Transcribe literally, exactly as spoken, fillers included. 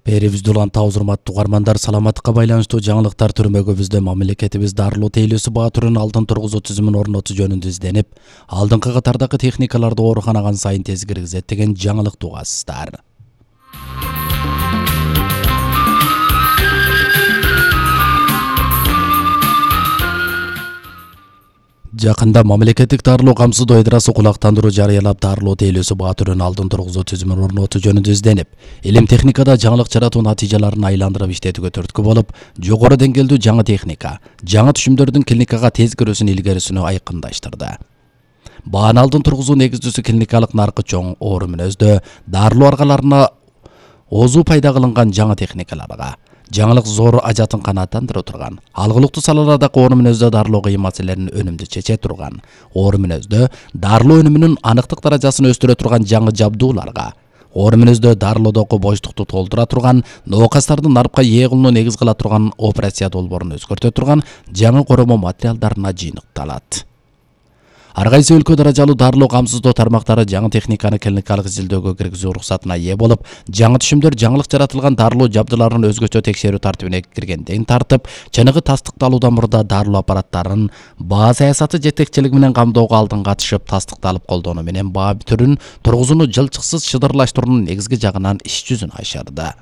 Берибизде улантабыз урматтуу угармандар, саламаттыкка байланыштуу жаңылыктар түрмөгүбүздө мамлекетибиз дарылоо тейлөөсү баа түрүн алдын тургузуу түзүмүн орнотуу жөнүндө изденип, алдыңкы катардагы техникаларды ооруканага сайын тез киргизет деген жаңылыкты угасыздар. Жакында мамлекеттик дарылоо камсыздоо ыдрасы кулактандыруу жарыялап, дарылоо тейлөөсү баа түрүн алдын тургузуу түзүмүн орнотуу жөнүндө изденип, илим техникада жаңылык жаратуу натыйжаларын айландырып иштетүүгө түрткү болуп, жогору деңгээлдүү жаңы техника, жаңы түшүмдөрдүн клиникага тез кирүүсүн илгерисүнү айкындаштырды. Бааны алдын тургузуу негиздүүсү клиникалык наркы чоң оору мүнөздө дарылоо аргаларына озу пайда кылынган жаңы техникаларга, жаңылык зор ажатын канааттандыра турган, алгылыктуу салалардагы оору мүнөздө дарылоо кыйын маселелерин өнүмдүү чече турган, оору мүнөздө дарылоо өнүмүнүн аныктык даражасын өстүрө турган жаңы жабдууларга, оору мүнөздө дарылоодогу боштукту толтура турган, ноокастардын нарпка ээ кылууну негиз кыла турган операция долбоорун өзгөртө турган жаңы коромоо материалдарына жыйынтыкталат. Ар кайсы өлкө даражалуу дарылоо камсыздоо тармактары жаңы техниканы клиникалык изилдөөгө киргизүү уруксатына ээ болуп, жаңы түшүмдөр жаңылык жаратылган дарылоо жабдууларын өзгөчө текшерүү тартибине киргенден тартып, чыныгы тастыкталуудан мурда дарылоо аппараттарын баа саясаты жетекчилиги менен камдоого алдын катышып, тастыкталып колдонуу менен баа түрүн тургузууну жылчыксыз шыдырлаштыруунун негизги жагынан иш жүзүн ашырды.